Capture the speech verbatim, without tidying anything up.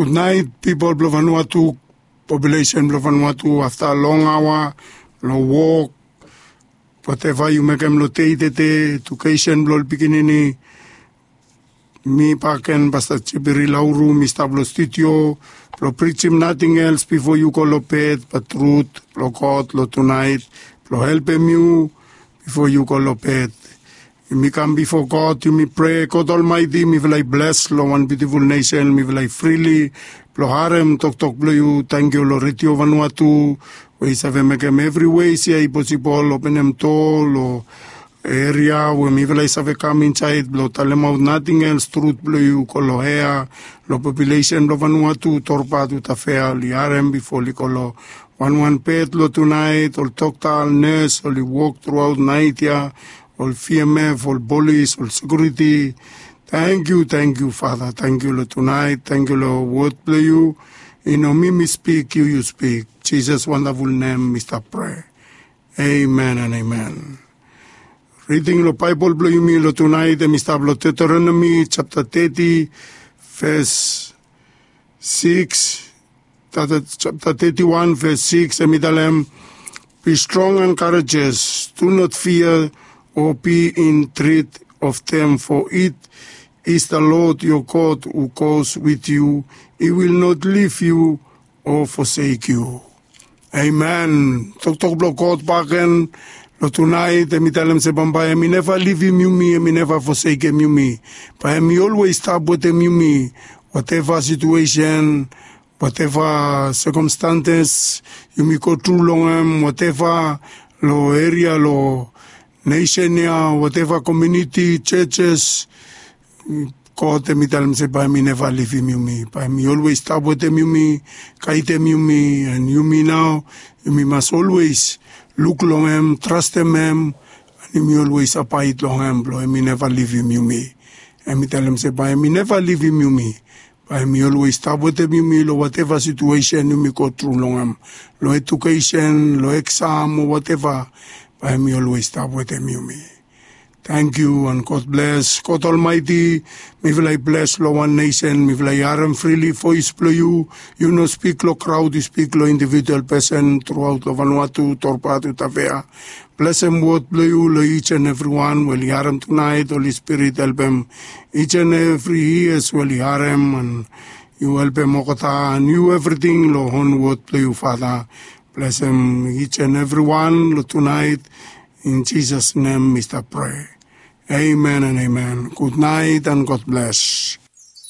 Gudnaet pipol blong Vanuatu, populesen blong Vanuatu, afta long aoa, long wok, wateva yu mekem long dei tede, edukesen blong ol pikinini. Mi bakegen Pasta Jipiri Lauru, mi stap long studio blong prijim nating els bifo yu go long bed, bat trut blong God long tunaet blong helpem yu bifo yu go long bed. Yumi kam bifo God, yumi prea, God Olmaeti, mifala i bles long wan biutiful nesen, mifala i frili blong harem toktok blong yu. Tangkiu long Redio Vanuatu we i save mekem evri wes ya i posibol, openem doa long eria we mifala i save kam insaed blong talemaot nating els, trut blong yu go long ea, long populesen blong Vanuatu, Torba tu Tafea, oli harem bifo oli go long wanwan bed long tunaet, ol dokta, ol nes, oli wok truaot naet ya, ol V M F, ol polis, ol sekiuriti. Tangkiu, tangkiu Fata, tangkiu long tunaet, tangkiu long wod blong yu. I no mi mi spik, yu yu spik. Jisas wandaful nem mi stap prea. Amen and amen. Riding long Baebol blong yumi long tunaet hem i stap long Deuteronomy japta teti, ves sikis, japta teti wan, ves sikis, hem i talem, "Be strong and courageous, do not fear or be in dread of them, for it is the Lord your God who goes with you. He will not leave you or forsake you." Amen. Toktok blong God bakegen long tunaet hem i talem se bambae hem i neva livim yumi, hem i neva fosekem yumi. Bae hem i olwes stap wetem yumi. Wateva situesen, wateva sekomstanses yumi go tru long hem, wateva long eria, long nesen ya, wateva komuniti, jejes, God hem i talem se bae hem i neva livim yumi, bae hem i olwes stap wetem yumi, gaedem yumi, and yumi nao yumi mas olwes luk long hem, trastem hem, and yumi olwes abaed long hem blong hem i neva livim yumi. Hem i talem se bae hem i neva livim yumi, bae hem i olwes stap wetem yumi long wateva situesen yumi go tru long hem, long edukesen, long eksam o wateva, bae hem i olwes stap wetem yumi. Tangkiu and God bles. God Olmaeti, mifala i bles long wan nesen, mifala i harem frili voes blong yu. Yu no spik long kraod, yu spik long individual pesen truaot long Vanuatu, Torba tu Tafea. Blesem wod blong yu long each and everyone we oli harem tunaet. Holi Spirit, helpem each and every ears we oli harem, and yu helpem olgeta, and yu evriting long hon wod blong yu Fata. Blesem each and everyone long tunaet. In Jisas nem mi stap prea. Amen and amen. Gudnaet and God bles.